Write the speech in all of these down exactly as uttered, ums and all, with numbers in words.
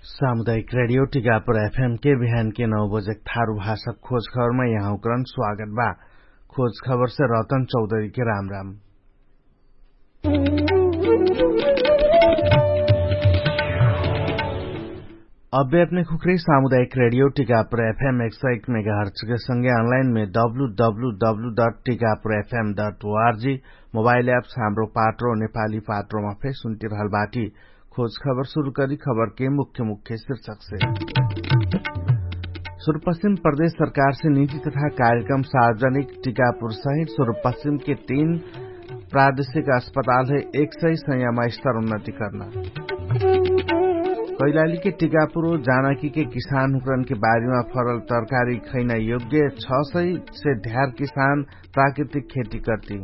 सामुदायिक रेडियो टिकापुर एफएम के बिहान के नौ बजेक थारु भाषा खोज खबरमा यहाँकरण स्वागत बा। खोज खबर से रतन चौधरी के राम राम। अब्बे अपने खुखरी सामुदायिक रेडियो टिकापुर एफएम एक सौ एक मेगाहर्च के संगे अनलाइन में W W W dot Tikapur F M dot O R G mobile apps Hamro Patro नेपाली पाट्रोमा फे सुन्ति रहल बाटी। खोज खबर सुरु करी खबर के मुख्य मुख्य शीर्षक से। सुरुपश्चिम प्रदेश सरकार से निजी तथा कार्यक्रम सार्वजनिक टिकापुर सहित सुरुपश्चिम के तीन प्रादेशिक अस्पताल है एक सय सयमा स्तर उन्नति कर्ना। कैलाली के टिकापुर जानकी के किसान हुक्रन के बारीमा फरल तरकारी खैना योग्य छ सय से ध्यार किसान प्राकृतिक खेती कर्ति।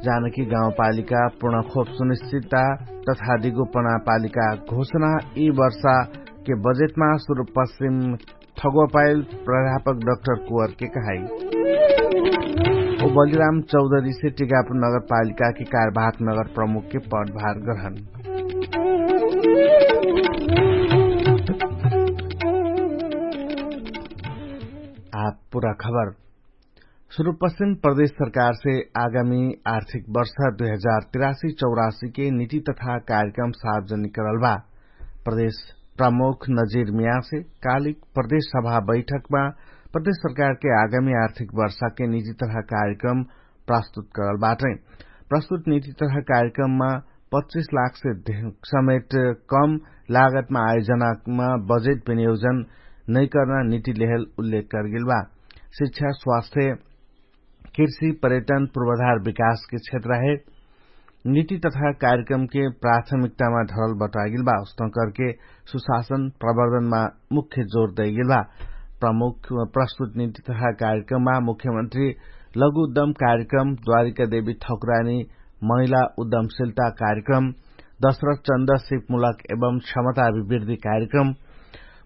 जानकी गाउँपालिका पूर्ण खोप सुनिश्चितता तथा दिगोपना पालिका घोषणा यी वर्षा के बजेटमा सुरुपश्चिम ठगोपाइल प्राध्यापक डक्टर कुवर के कहाई। ओ बलिराम चौधरी से टिकापुर नगरपालिका के कार्यवाहक नगर प्रमुख के पदभार ग्रहण। आप पूरा खबर। सुरुपश्चिम प्रदेश सरकार से आगामी आर्थिक वर्ष दुई हजार तिरासी चौरासी के निति तथा कार्यक्रम सार्वजनिक करल बा। प्रदेश प्रमुख नजिर मियाँ से कालिक प्रदेश सभा बैठकमा प्रदेश सरकार के आगामी आर्थिक वर्ष के निति तथा कार्यक्रम प्रस्तुत करल बाटै। प्रस्तुत निति तथा कार्यक्रममा पच्चिस लाख से समेट कम लागतमा आयोजनामा बजेट विनियोजन नैकर्ना निति लेहल उल्लेख करगेल बा। शिक्षा स्वास्थ्य कृषि पर्यटन पूर्वाधार विकासके क्षेत्र है निति तथा कार्यक्रमके प्राथमिकतामा धरल बटागेल बा। उस्तन करके सुशासन प्रवर्धनमा मुख्य जोर दैगेल बा। प्रमुख प्रस्तुत निति तथा कार्यक्रममा मुख्यमन्त्री लघु उद्दम कार्यक्रम द्वारिका देवी ठकुरानी महिला उद्दमशिलता कार्यक्रम दशरथ चन्द सिपमुलक एवं क्षमता अभिवृद्धि कार्यक्रम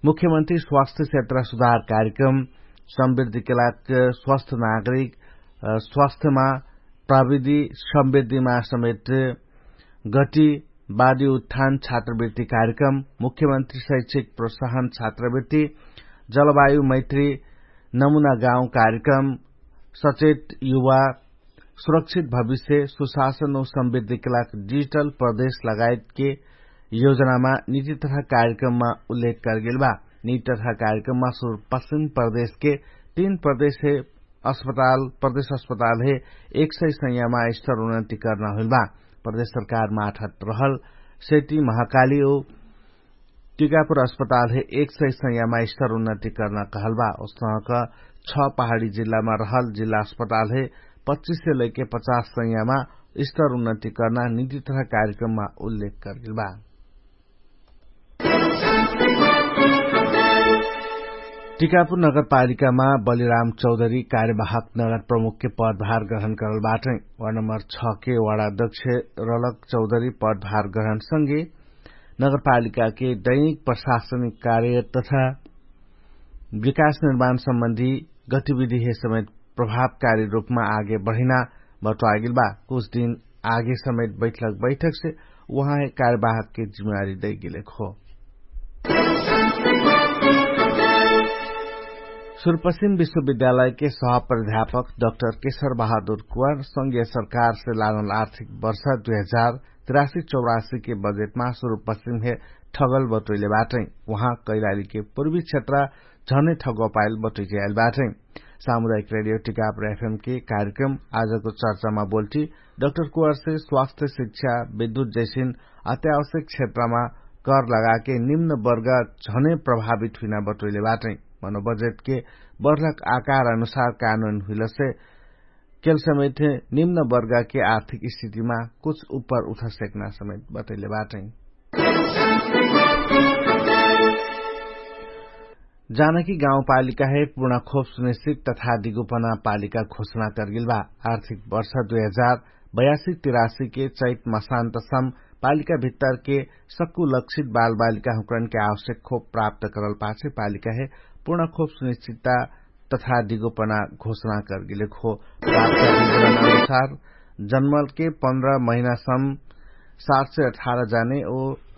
मुख्यमन्त्री स्वास्थ्य क्षेत्र सुधार कार्यक्रम समृद्धिके लाग स्वस्थ नागरिक स्वास्थ्यमा प्रविधि समृद्धिमा समेत गति बादी उत्थान छात्रवृत्ति कार्यक्रम मुख्यमन्त्री शैक्षिक प्रोत्साहन छात्रवृत्ति जलवायु मैत्री नमुना गाउँ कार्यक्रम सचेत युवा सुरक्षित भविष्य सुशासन औ समृद्धिके लाग डिजिटल प्रदेश लगायतके योजनामा निति तथा कार्यक्रममा उल्लेख करगेल बा। निति तथा कार्यक्रममा सुरुपश्चिम प्रदेशके तीन प्रदेश हे अस्पताल प्रदेश अस्पताल हे एक सय सयमा स्तर उन्नति कर्ना हुइल बा। प्रदेश सरकार माठत रहल सेती महाकाली औ टिकापुर अस्पताल हे एक सय सयमा स्तर उन्नति कर्ना कहल बा। उसनक छ पहाडी जिल्लामा रहल जिल्ला अस्पताल हे पच्चिस से लैके पचास सयमा स्तर उन्नति कर्ना निति तथा कार्यक्रममा उल्लेख करगेल बा। टिकापुर नगरपालिकामा बलिराम चौधरी कार्यवाहक नगर प्रमुखके पदभार ग्रहण करल बाटै। वार्ड नम्बर छ के वार्ड अध्यक्ष रलक चौधरी पदभार ग्रहण संगे नगरपालिकाके दैनिक प्रशासनिक कार्य तथा विकास निर्माण सम्बन्धी गतिविधि हे समेत प्रभावकारी रूपमा आगे बढिना बटुवागेल बा। कुछ दिन आगे समेत बैठक बैठक से उहाँ हे कार्यवाहकके जिम्मेवारी दैगेलेक हो। सुरुपश्चिम विश्वविद्यालयके सह प्राध्यापक डक्टर केशर बहादुर कुवार संघीय सरकारसे लागल आर्थिक वर्ष दुई हजार तिरासी चौरासीके बजेटमा सुरुपश्चिम हे ठगल बटोइले बाटै। उहाँ कैलालीके पूर्वी क्षेत्र झनै ठगोपाइल बटोइले आइल बाटै। सामुदायिक रेडियो टिकापुर एफएमके कार्यक्रम आजको चर्चामा बोल्टी डक्टर कुवारसे स्वास्थ्य शिक्षा विद्युत जैसिन अत्यावश्यक क्षेत्रमा कर लगाके निम्न वर्ग झनै प्रभावित हुइना बटोइले बाटै। मनोबजेटके बर्लक आकार अनुसार कानुन हुइलसे केल समेत निम्न वर्गके आर्थिक स्थितिमा कुछ उपर उठा सेक्ना समेत बटोइले बाटै। जानकी गाउँपालिका हे पूर्ण खोप सुनिश्चित तथा दिगोपना पालिका घोषणा करगेल बा। आर्थिक वर्ष दुई हजार बयासी तिरासी के चैत मसान्तसम पालिका भित्तरके सक्कु लक्षित बालबालिका हुँकरनके आवश्यक खोप प्राप्त करल पाछे पालिका हे पूर्ण खोप सुनिश्चितता तथा दिगोपना घोषणा करगेले खो प्राप्त विवरण अनुसार जन्मलके पन्ध्र महिनासम सात सय अठार जाने ओ